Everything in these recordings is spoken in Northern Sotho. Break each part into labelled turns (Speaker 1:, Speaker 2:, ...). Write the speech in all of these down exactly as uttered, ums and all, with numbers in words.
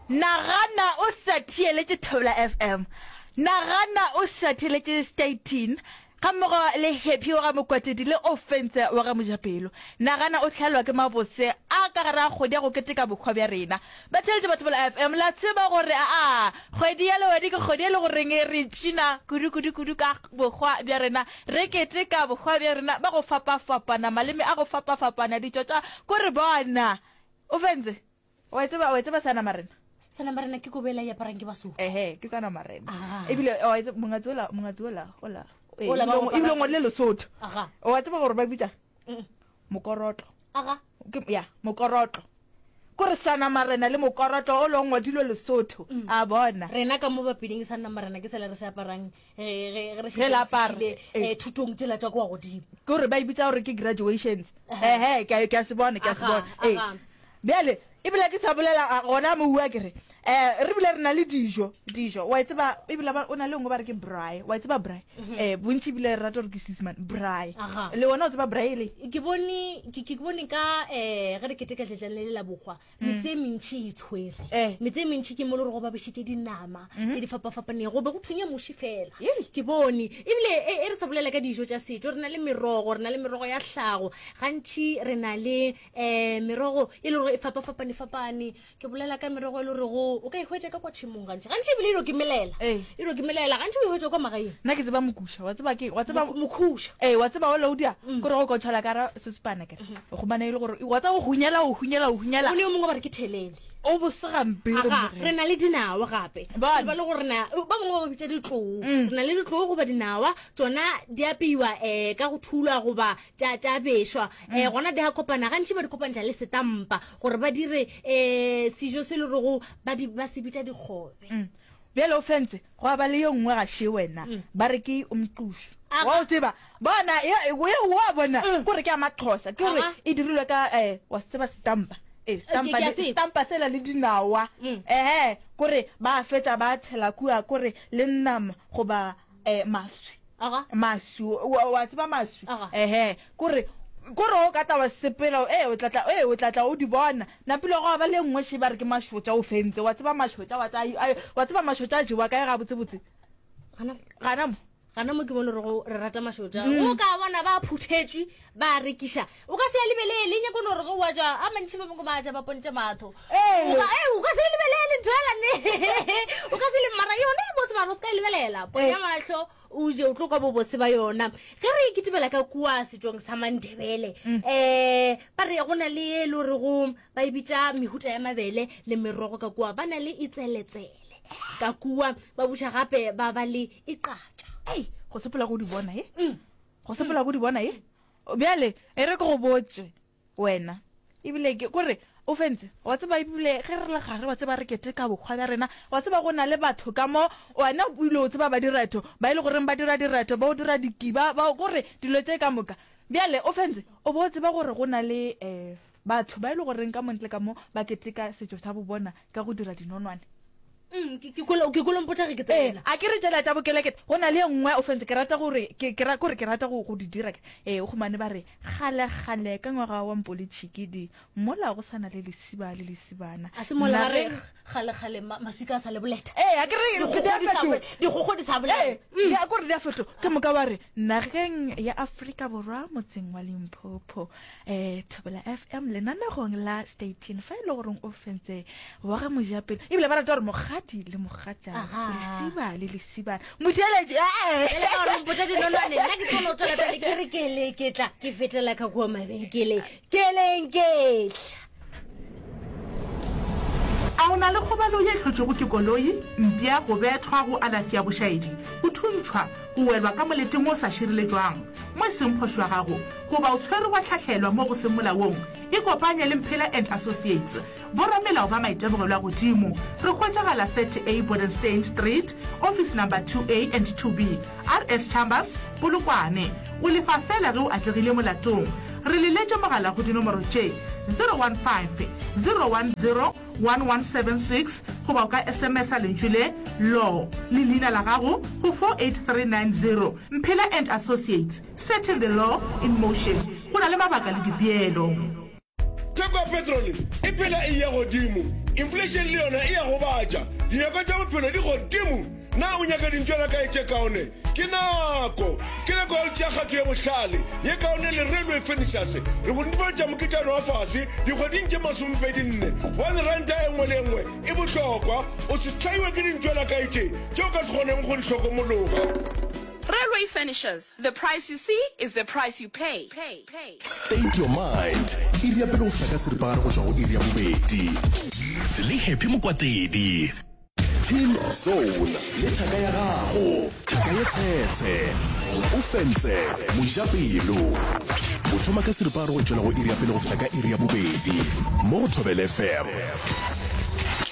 Speaker 1: Nagana o sa theeletše Thobela F M. Nagana o sa theeletše Statin gammogo le Happy wa ga Mokwatedi le Ofentse wa ga Mojapelo. Nagana o hlalwa ke mabose a ka gare ga kgwedi ya go keteka bohwa bja rena. Batheeletši ba Thobela F M, la tseba gore aa kgwedi ya Lewedi ke kgwedi e le goreng re ipshina kudu kudu kudu ka bohwa bja rena. Re keteka bohwa bja rena ba go fapafapana, maleme a go fapafapana, ditšo tša ko re bona. Ofentse, wa e tseba, wa e tseba Seanamarena?
Speaker 2: Seanamarena ke kobo ela e aparang ke Basotho.
Speaker 1: Ehe, ke Seanamarena.
Speaker 2: Aga.
Speaker 1: Ebile wa e tseba mongatsi ola, mongatsi ola, ola. Eh,
Speaker 2: Ola ba
Speaker 1: ebile
Speaker 2: go
Speaker 1: ebile
Speaker 2: apara
Speaker 1: ngwadile Lesotho.
Speaker 2: Aga.
Speaker 1: Wa tseba gore ba bitsa
Speaker 2: Mm.
Speaker 1: mokorotlo.
Speaker 2: Aga.
Speaker 1: Ke ya, mokorotlo. Kore Seanamarena le mokorotlo o lo ngwadilwe Lesotho. A bona.
Speaker 2: Rena ka mo Bapeding Seanamarena ke sela re se aparang ge ge ge re
Speaker 1: Ge
Speaker 2: šetše
Speaker 1: le
Speaker 2: re
Speaker 1: apara,
Speaker 2: fihlile
Speaker 1: eh.
Speaker 2: eh, thutong tšela tša kwa godimo.
Speaker 1: Ke gore ba e bitsa gore ke graduations. Ehe, ke a ke a se bona, ke a se
Speaker 2: Aga,
Speaker 1: bona. Eh.
Speaker 2: aga.
Speaker 1: Bjale, ebile ke sa bolela a, gona mo bua ke re, eh, re bile re na le dijo, dijo. Wa e tseba ebile ba o na le nngwe ba re ke braai. Wa e tseba braai? Eh, bontši ebile re rata gore ke Seesemane, braai.
Speaker 2: Aga.
Speaker 1: Le wena o tseba braai le?
Speaker 2: Ke bone ke ke bone ka eh ge re keteka letšatši le la bohwa, metse e mentši e tshwere.
Speaker 1: Eh.
Speaker 2: Metse e mentši ke mo le gore go ba bešitše dinama tše di fapafapanego, go be go thunya muši fela.
Speaker 1: Yei.
Speaker 2: Ke bone ebile e e re sa bolela ka dijo tša setšo, re na le merogo, re na le merogo ya hlago. Gantši re na le eh merogo e le gore e fapafapane fapane. Ke bolela ka merogo e le gore o ka e hwetša ka kwa tšhemong gantši. Gantši ebile e dio ke melela.
Speaker 1: Ee.
Speaker 2: E dio ke melela, gantši o e hwetša kwa magaeng.
Speaker 1: Nna ke tseba mokusha, wa tseba ke, wa tseba
Speaker 2: Mokhuša.
Speaker 1: Eh, wa tseba o laudia, kore go ka o tšhela ka ra sesupana kere. O khumana e le gore wa tseba o hunyela, o hunyela, o hunyela.
Speaker 2: O ne yo mongwe ba re ke thelele.
Speaker 1: O bose gampe go
Speaker 2: Aga,
Speaker 1: mmogela.
Speaker 2: re na le dinawa gape.
Speaker 1: Bona.
Speaker 2: Ba le gore na ba bangwe ba ba bitša ditlou. Re na le ditlou goba dinawa, tšona di apeiwa eh ka go thulwa goba tša tša bešwa. Eh gona di a kopana, gantši ba di kopantšha le setampa gore ba dire eh sejo se le rego ba di ba se bitša dikgobe.
Speaker 1: Mm. Bjale o fentse, gwa ba le ye nngwe ga še wena, ba re ke umqušu.
Speaker 2: Aga.
Speaker 1: Wa o tseba, bona, ye, ye wa bona,
Speaker 2: Mm.
Speaker 1: kore ke ya Maxhosa, ke gore
Speaker 2: Aga.
Speaker 1: e dirilwe ka, eh, wa se tseba setampa. Eh, setampa
Speaker 2: Ke- ke a
Speaker 1: le,
Speaker 2: tseba.
Speaker 1: setampa sela le dinawa.
Speaker 2: Mm.
Speaker 1: Ehe, kore ba fetša ba tšhela kua, kore le nama goba, eh, maswi.
Speaker 2: Aga.
Speaker 1: Maswi, wa, wa tseba maswi?
Speaker 2: Aga.
Speaker 1: Ehe, kore, kore o ka tla wa sepela, eh, o tla tla, eh, o tla tla o di bona. Napile gwa ba le nngwe še ba re ke mašotša o fentse. Wa tseba mašotša, wa tseba, ai, wa tseba mašotša a jewa kae gabotsebotse?
Speaker 2: Gana
Speaker 1: Gana mo.
Speaker 2: Gana mo ke bone gore go- re rata mašotša. O ka bona ba phuthetšwe ba rekiša. O ka se a lebelele, nyako no re go wa ja, a mantši ba bangwe ba ja ba pontše matho.
Speaker 1: Ee.
Speaker 2: O ka eh, o ka se e lebelele ntho ela ne. O ka se le mara yona e bose mara o se ka e lebelela. Ponya mahlo o je o tlo kwa bobose ba yona. Ge re kitimela ka kua setšong sa Mandebele, eh ba re go na le e le gore go ba e bitša mehuta ya mabele le merogo ka kua, ba na le itseletsele. Ka kua ba buša gape ba ba le iqatša.
Speaker 1: Ei, go sepela go di bona e.
Speaker 2: Mm.
Speaker 1: Go sepela go di bona e. Bjale e re ke go botše wena. Ebile ke kore o fentse, wa tseba ebile ge re le gare wa tseba re keteka bokgwa bja rena, wa tseba go na le batho ka mo wena o ile o tseba ba diretho, ba e le goreng ba dira diretho, ba o dira dikiba, ba kore dilo tše ka moka. Bjale o fentse, o bo o tseba gore go na le eh batho ba e le goreng ka montle ka mo ba keteka setšo sa bo bona ka go dira dinonwane.
Speaker 2: Mm, ke ke kolo ke kolo mpotša ge ke
Speaker 1: Eh,
Speaker 2: tsena.
Speaker 1: a ke re tšela tša bokelekete, go na le e nngwe o fentse ke rata gore ke ke ra kore ke rata go go di dira. Eh, o khumane ba re kgale kgale ka ngwaga wa mpole tšhikidi mola go sana le lesiba le lesibana.
Speaker 2: A se mola ba re
Speaker 1: Nageng-
Speaker 2: kgale kgale ma- maswika a sa le boleta.
Speaker 1: Eh, a ke re
Speaker 2: Dikgogo
Speaker 1: di a
Speaker 2: di sa
Speaker 1: fetoga.
Speaker 2: bole- dikgogo di sa bolela.
Speaker 1: Eh, di a kore di a fetoga. Ke moka ba re nageng ya Afrika Borwa motseng wa Limpopo, eh, Thobela F M lenanegong la Statin fa e le goreng o fentse wa ga Mojapelo. Ebile ba rata gore mokgadi le mogatša,
Speaker 2: Aga.
Speaker 1: lesiba le lesibana. Motheeletši, eh.
Speaker 2: Bjale ka gore o mpotša dinonwane, nna ke tlo no tšwela pele ke re ke le ke tla ke fetela ka kua mabenkeleng. Ke leng ke tla.
Speaker 3: A o na le kgobalo ye e hlotšwego ke koloi, mpša, go bethwa, go alafi ya bošaedi, go thuntšhwa, go welwa ka moleteng o sa šireletšwang, mo e seng phošo ya gago, goba o tshwerwe wa hlahlelwa mo go seng molaong? Ikopanye le Mphela and Associates, boramelao ba maitemogelo a godimo. Re hwetšagala thirty A Bodenstein Street, Office number two A and two B, R S Chambers, Polokwane. O lefa fela ge o atlegile molatong. Re leletše mogala go dinomoro tše, zero one five, zero one zero, one one seven six goba o ka S M S-a lentšu le Law le leina la gago go four eight three nine zero. Mphela and Associates, setting the law in motion. Go na le mabaka le dipeelo.
Speaker 4: Theko ya petrole e phela e eya godimo Inflation le yona e ya gobatša. Dinyakwa tša bophelo di godimo. Na o nyaka dintšwana kae tše kaone? Ke nako. Ke nako ya go tšea kgato ye bohlale, ye kaone le Railway Furnitures. Re go netefaletša moketšana wa fase dikgweding tše masomepedi nne, gobane ranta e nngwe le e nngwe e bohlokwa. O se hlaiwe ke dintšwana kae tše tše o ka se kgoneng go di hlokomologa.
Speaker 5: Railway Furnitures, the price you see is the price you pay. Pay, pay.
Speaker 6: State Your Mind, iri ya pele go fihla ka seripagare go tšwa go iri ya bobedi.
Speaker 7: Le Happy Mokwatedi.
Speaker 6: Teen Zone le thaka ya gago, thaka ye tshetshe. O fentse mojapelo. O thoma ka seripagare go tšwela go iri ya pele go fihla ka iri ya bobedi mo go Thobela F M.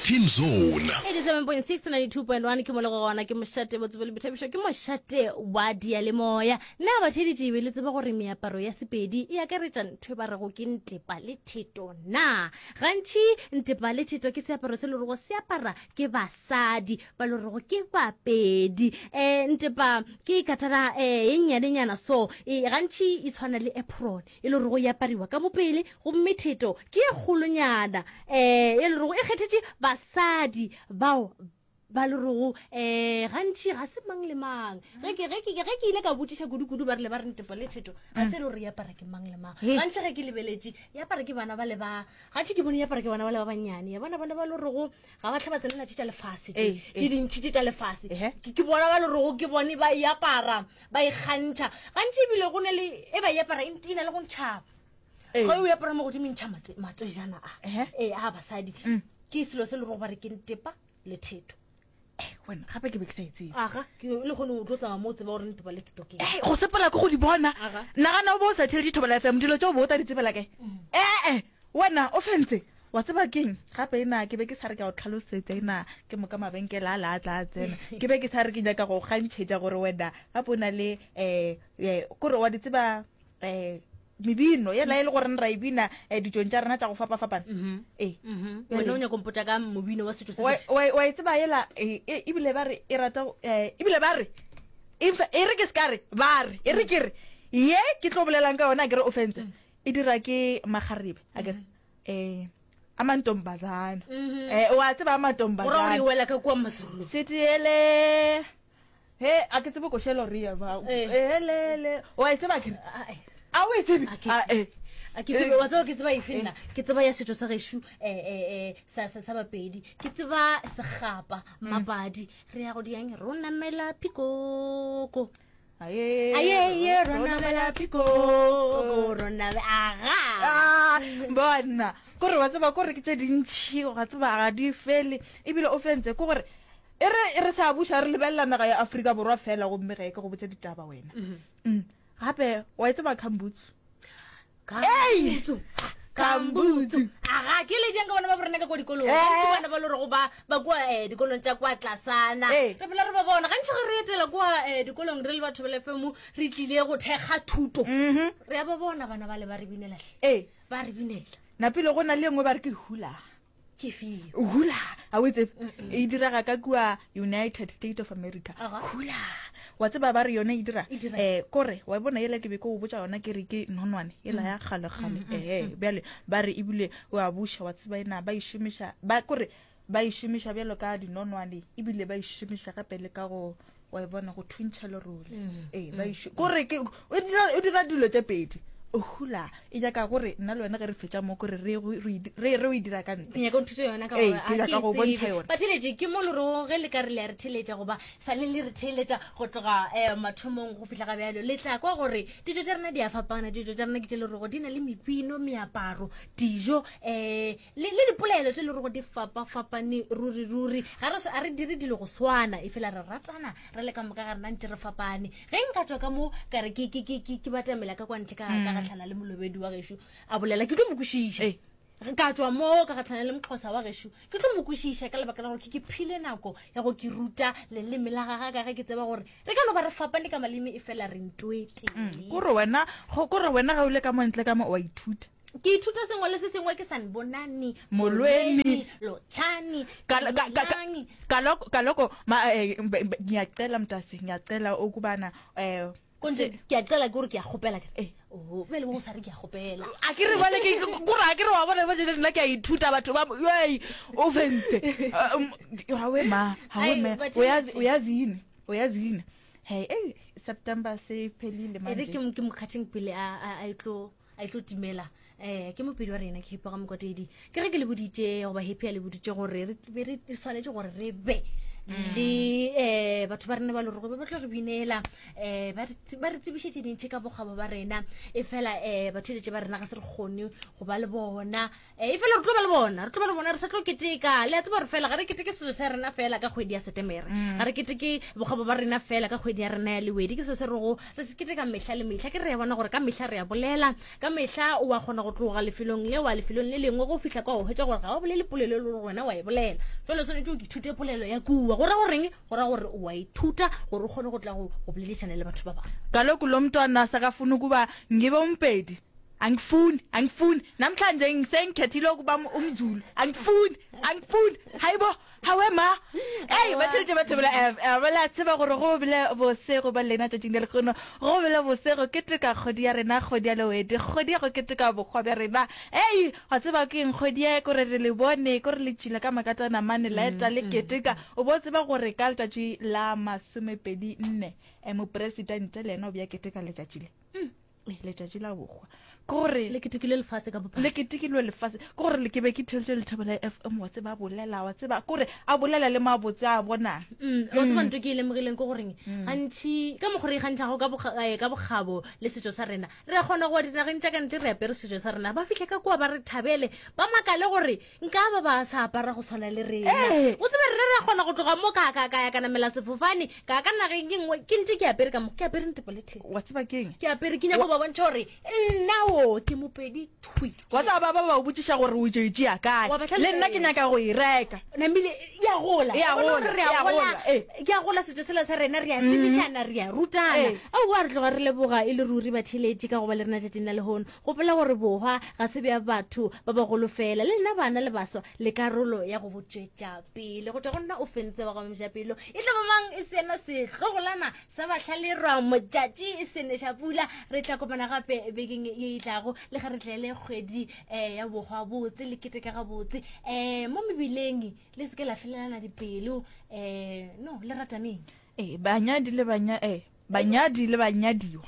Speaker 7: Teen Zone.
Speaker 2: eighty-seven point six, ninety-two point one ke mo le go gona, ke mošate botsebo le boithabišo, ke mošate wa diyalemoya. Nna batheeletši be le tseba gore meaparo ya Sepedi e akaretša ntho e ba rego ke ntepa le theto na. Gantši ntepa le theto ke seaparo se le rego se apara ke basadi ba le rego ke bapedi. Eh, ntepa ke katana, eh, e nnyanenyana so, e, gantši e tshwana le apron e le rego e apariwa ka mo pele, gomme theto ke e kgolonyana, eh, e le rego e kgethetše basadi bao ba le rego, eh, gantši ga se mang le mang. Ge ke, ge ke, ge ke ile ka botšiša kudu-kudu, ba rile ba re ntepa le theto ga se e le gore e apara ke mang le mang.
Speaker 1: He.
Speaker 2: Gantši ge ke lebeletše, e apara ke bana ba le ba, gantši ke bone e apara ke bana ba le ba bannyane. Ya bona bana ba le rego ga ba tlhe ba tsenela tše tša lefase tše,
Speaker 1: Ee,
Speaker 2: tše
Speaker 1: ee.
Speaker 2: dintši tše tša lefase.
Speaker 1: Ehe.
Speaker 2: Ke, ke bona ba le rego ke bone ba e apara, ba e kgantšha. Gantši ebile go na le e ba e apara, e na le go ntšha.
Speaker 1: Ee.
Speaker 2: Ge o e apara mo godimo e ntšha matse-, matswejana a.
Speaker 1: Ehe.
Speaker 2: Ee, a basadi.
Speaker 1: Mm.
Speaker 2: Ke selo se le rego ba re ke ntepa le theto.
Speaker 1: Eh, wena gape ke be ke sa e tsebe.
Speaker 2: Aga, ke le kgone o tlo tsamaya mo o tseba gore ntepa le theto ke eng.
Speaker 1: Eh, go sepela ke go di bona.
Speaker 2: Aga.
Speaker 1: Nagana o bo o sa theletše Thobela F M, dilo tšeo bo o tla di tsebela kae?
Speaker 2: Mm.
Speaker 1: Eh, eh, wena o fentse. Wa tseba keng? Gape ena ke be ke sa re ke a o tlhalosetsa ena ke moka mabenkele a la a tla a tsena. Ke be ke sa re ke nyaka go kgantšhetša gore wena gape o na le, eh, eh, kore wa di tseba, eh, mebino yela e le gore ra e bina, eh, ditšong tša rena tša go fapafapana.
Speaker 2: Mhm.
Speaker 1: Ee.
Speaker 2: Mhm.
Speaker 1: Bjale.
Speaker 2: Wena o nyaka go mpotša ka mobino wa setšo se
Speaker 1: Wa-
Speaker 2: sefe?
Speaker 1: wa-, wa e tseba yela, e, e, ebile ba re e rata go, eh, ebile ba re, e fa-, e re ke se ka re, ba re, e re ke re, ye ke tlo bolelang ka yona, a ke re o fentse.
Speaker 2: Mm.
Speaker 1: E dira ke makgarebe, a ke re,
Speaker 2: Mm-hmm.
Speaker 1: eh, a mantombazana.
Speaker 2: Mm-hmm.
Speaker 1: Eh, wa tseba a mantombazana.
Speaker 2: O ra gore e wela ka kua Mazulu.
Speaker 1: Setiele. He, a ke tsebe košelo re ya ba.
Speaker 2: Eh.
Speaker 1: Elele. Wa e tseba ke re?
Speaker 2: Ah, eh.
Speaker 1: A o e tsebe?
Speaker 2: A ke
Speaker 1: Ah,
Speaker 2: tsebe.
Speaker 1: eh.
Speaker 2: A ke tsebe,
Speaker 1: Eh.
Speaker 2: wa tseba ke tseba efe nna? Ke tseba ya setšo sa gešo, eh, eh, eh, sa, sa, sa Bapedi. Ke tseba sekgapa,
Speaker 1: Mm.
Speaker 2: mapadi. Re ya go diang, ro namela pikoko.
Speaker 1: Aye,
Speaker 2: Aye, ye, ro namela pikoko, ro name-, aga.
Speaker 1: Ah, bona. Kore wa tseba kore ke tše dintši, wa tseba ga di fele. Ebile o fentse ke gore e re, e re sa buša re lebelela naga ya Afrika Borwa fela, gomme ge ke go botse ditaba wena.
Speaker 2: Mm-hmm.
Speaker 1: Mm. Gape wa e tseba Kambutsu?
Speaker 2: Kambutsu.
Speaker 1: Kambutsu.
Speaker 2: Aga, ke le jang ka bona ba borena ka kwa dikolong.
Speaker 1: Eh.
Speaker 2: Gantši bana ba le gore ba, ba kwa, eh, dikolong tša kwa tlasana.
Speaker 1: Eh.
Speaker 2: Re phela re ba bona. Gantši ge re etela kwa, eh, dikolong re le batho ba F M, re tlile go thekga thuto.
Speaker 1: Mm-hmm.
Speaker 2: Re a ba bona bana ba le ba re binela hle.
Speaker 1: Eh.
Speaker 2: Ba re binela.
Speaker 1: Napile go na le e nngwe ba re ke hula.
Speaker 2: Ke feo.
Speaker 1: Hula, a o e tsebe? E direga ka kua United States of America.
Speaker 2: Aga.
Speaker 1: Hula. Wa tseba ba re yone e dira?
Speaker 2: E dira.
Speaker 1: Eh, kore, wa bona yela ke be ke o botša yona ke re ke nonwane, yela ya kgale-kgale.
Speaker 2: Mm, mm,
Speaker 1: Eh,
Speaker 2: mm.
Speaker 1: bjale ba re ebile wa buša, wa tseba ena ba e šomiša, ba kore ba e šomiša bjalo ka dinonwane, ebile ba e šomiša gape le ka go, wa e bona, go thuntšha lerole.
Speaker 2: Mm,
Speaker 1: Eh, ba e
Speaker 2: mm.
Speaker 1: šo-, kore ke, o dira, o dira dilo tše pedi. O hula, e nyaka gore nna le wena ge re fetša mo, kore re go, re, re, re o e dira ka ntle.
Speaker 2: Ke nyaka o nthute yona ka
Speaker 1: Ee,
Speaker 2: gore
Speaker 1: ke
Speaker 2: a
Speaker 1: nyaka
Speaker 2: ke
Speaker 1: go bontšha
Speaker 2: tsebe.
Speaker 1: yona.
Speaker 2: Batheeletši, ke mo le rego ge le ka re le a re theeletša goba sa le le re theeletša go tloga, eh, mathomong go fihla ga bjalo, le tla kwa gore dijo tša rena di a fapana. Dijo tša rena ke tše le rego di na le mebino, meaparo, dijo, eh, le, le dipolelo tše le rego di fapafapane ruri ruri. Ga re, a re dire dilo go swana, e fela re ratana re le ka moka ga rena ntse re fapane. Ge nka tswa ka mo ka re ke, ke, ke, ke, ke batamela ka kwa ntle ka, ka
Speaker 1: Mm.
Speaker 2: gahlana le molobedi wa gešo a bolela, ke tlo mo kwešiša.
Speaker 1: Ee.
Speaker 2: Ka tswa mo ka gahlana le moxhosa wa gešo, ke tlo mo kwešiša ka lebaka la gore ke, ke phile nako ya go ke ruta leleme la gagwe, ka ge ke tseba gore re ka no ba re fapane ka maleme e fela re ntwete.
Speaker 1: Mm, kore wena, go, kore wena ga o le ka mo ntle ka mo o a ithuta.
Speaker 2: Ke ithuta sengwe le se sengwe, ke sanibonani,
Speaker 1: Molweni,
Speaker 2: lotshani,
Speaker 1: Ka-, ka-, ka-,
Speaker 2: dumelang.
Speaker 1: kaloko, kaloko, ma, eh, mbe-, mbe-, ngiyacela mntase, ngiyacela ukubana, eh,
Speaker 2: Konje,
Speaker 1: se-
Speaker 2: ke a cela ke gore ke a kgopela ke re.
Speaker 1: Eh.
Speaker 2: Oh, bjale bo sa re ke a gopela.
Speaker 1: A ke re bale ke kore a ke re wa bona ba jele nna ke a ithuta batho ba ei o fentse. Hawe ma, hawe
Speaker 2: Ai,
Speaker 1: me.
Speaker 2: batheletši.
Speaker 1: Uyazi uyazi yini? Uyazi yini? Hey, hey September se phelile
Speaker 2: E re
Speaker 1: manje.
Speaker 2: ke mo- ke mo kgatheng pele a a- a etlo a etlo timela um ke mopedi wa rena ke Happy ga Mokwatedi ke ge ke le boditše goba Happy a le boditše gore re be re swanetše gore re be le um batho ba rena ba lore gobe ba tlo re binela um ba re tse- ba re tsebiše tše dintšhi ka bokgabo ba rena e fela um batheletše ba rena ga se re kgone go ba le bona um e fela re tlo ba le bona re tlo ba le bona re sa tlo keteka le a tseba gore fela ga re keteke setso sa rena fela ka kgwedi ya setemere ga re keteke bokgabo ba rena fela ka kgwedi ya rena ya lewedi ke selo se rego re se keteka mehla le mehla ke re ya bona gore ka mehla re ya bolela ka mehla o wa kgona go tloga lefelong le wa lefelong le lengwe go fihla kwa o hwetša gore ga o bolele polelo e le gore wena wa e bolela jalo swanetše o ke ithute polelo ya kua go ra goreng go ra gore o wa ithuta gore o kgone go tla go go boledišana le batho ba bangwe.
Speaker 1: Kaloku lo mntwana sakafuna ukuba ngibe umpedi. Angifuni, angifuni. Namhlanje ngisengikhethile ukuba um- umZulu. Angifuni, angifuni. Hayibo, hawe ma. Hey, batheletše ba Thobela F M. La tseba gore go bile bose go ba lena tšatšing le lekgono. Go bile bose go keteka kgwedi ya rena, kgwedi ya Lewedi, kgwedi ya go keteka bokgwa bja rena. Hey, wa tseba ke eng kgwedi ye kore re le bone, kore le tšhila ka makatana mane la eta le keteka. O bo tseba gore ka letšatši la masomepedi nne, eh, mopresidente le yena o bja keteka letšatši le. Eh, letšatši la bokgwa. Ke gore
Speaker 2: le ketekile lefase ka bophara.
Speaker 1: Le ketekilwe lefase. Ke gore le ke be ke theletše Lethabo la F M, wa tseba a bolela, wa tseba kore a bolela le mabotse a bonang.
Speaker 2: Mm, wa tseba ntho ke e lemogileng ke goreng gantši ka mokgwa re ikgantšhago ka bokga-, eh, ka bokgabo le setšo sa rena, re a kgona go ya dinageng tša ka ntle re apere setšo sa rena, ba fihle ka kua ba re thabele, ba makale gore nka ba ba sa apara go tshwana le rena.
Speaker 1: Ee.
Speaker 2: O tsebe rena re a kgona go tloga mo ka, ka, ka ya ka namela sefofane, ka ka nageng ye nngwe, ke ntše ke apere ka mo, ke apere ntepo le theko.
Speaker 1: Wa tseba ke eng?
Speaker 2: Ke apere, ke nyaka go ba bontšha gore nna o ke mopedi thwi.
Speaker 1: Wa tseba ba ba ba o botšiša gore o tšo e tšea kae.
Speaker 2: Wa ba
Speaker 1: Le nna ke
Speaker 2: hlalosetsa.
Speaker 1: nyaka go e reka.
Speaker 2: Namile ya gola.
Speaker 1: E a
Speaker 2: Wa bona
Speaker 1: gola,
Speaker 2: gore re a
Speaker 1: e a
Speaker 2: gola.
Speaker 1: gola, ee.
Speaker 2: Ke a gola setšo sela sa rena, re a tsebišana, re a rutana.
Speaker 1: Ee.
Speaker 2: Aowa, re tloga re leboga e le ruri batheeletši ka go ba le rena tšatšing la lehono. Gopola gore bohwa ga se bja batho ba bagolo fela, le lena bana le baswa le karolo ya go bo tšwetša pele. Go tšwa go nna o fentse wa ga Mojapelo, e tla ba mang e sena setlogolana sa bahlalerwa motšatši e seneša pula. Re tla kopana gape bekeng ye e tlago, le ge re tlele kgwedi, eh, ya bohwa botse, le keteka gabotse. Eh, mo mebileng le seke la felelana dipelo, eh, no, le rataneng.
Speaker 1: Eh, banyadi le banya-, eh, banyadi le banyadiwa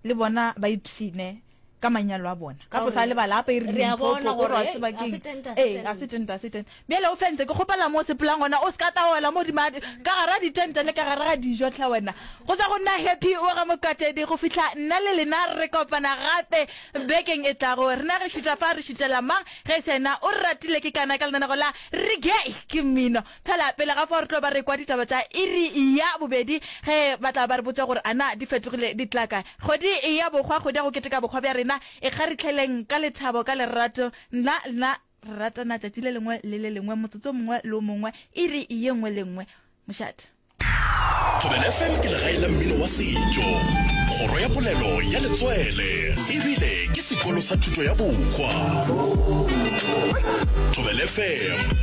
Speaker 1: le bona ba ipshine ka manyalo a bona. Ka
Speaker 2: Ka
Speaker 1: posa
Speaker 2: gore
Speaker 1: le balapa e re
Speaker 2: re a
Speaker 1: Limpopo,
Speaker 2: bona
Speaker 1: gore wa
Speaker 2: gore,
Speaker 1: tseba
Speaker 2: eh,
Speaker 1: ke
Speaker 2: ga se
Speaker 1: eng.
Speaker 2: tente, ga se
Speaker 1: Eh, ga se
Speaker 2: tente.
Speaker 1: tente, ga se tente. Bjale o fentse, ke kgopela mo o sepelang gona, o se ka taola mo hodima di-, ka gara ditente le ka gare ga dijo tlha wena. Go tswa go nna Happy wa ga Mokatedi go fihla nna le lena re kopana gape bekeng e tlago. Rena re šuta fa re šutela mang ge se yena o re ratile ke kana ka lenanego la re gay ke mmino. Phela pele ga fao re tlo ba re kwa ditaba tša iri ya bobedi ge ba tla ba re botša gore ana di fetogile di tla kae. Kgwedi ya bokgwa, kgwedi ya go keteka bokgwa bja rena, e kgaritlheleng ka lethabo, ka lerato. Nna nna re ratana tšatši le lengwe le le lengwe, motsotso o mongwe le o mongwe, iri ye nngwe le nngwe. Mošate.
Speaker 7: Thobela F M ke legae la mmino wa setšo, kgoro ya polelo ya letswele, ebile ke sekolo sa thuto ya bokgwa. Thobela F M.